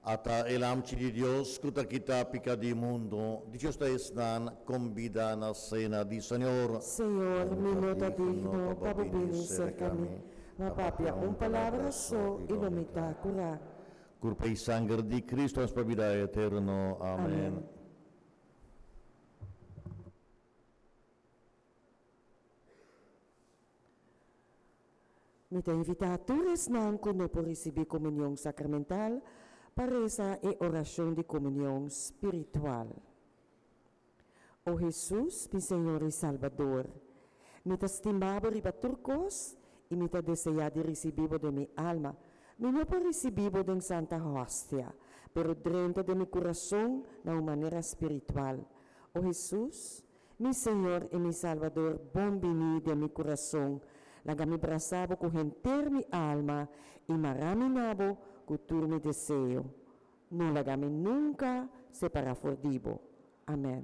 Ata e Lamchi di Dios ku ta kita pika di mundu, dichoso ta esnan kombidá na sena di Señor. Señor, mi no ta digno pa bo bini serka mi, ma papia un palabra so i lo mi ta kurá. Kurpa i sanger di Kristu nos pa bida eterno. Amèn. Mi ta invitá tur esnan ku no por risibí komunion sakramental pa resa e orashon di komunion spiritual. O Hesus, mi Señor i Salbador, mi ta stima bo riba tur kos i mi ta deseá di risibí bo den mi alma. Mi no por risibí bo den Santa Hostia, pero drenta den mi kurason na un manera spiritual. O Hesus, Mi Señor i mi Salbador, bon bini den mi kurason. Laga mi brasa bo ku henter mi alma i mara mi na bo ku tur mi deseo. No laga mi nunka separá for di bo. Amèn.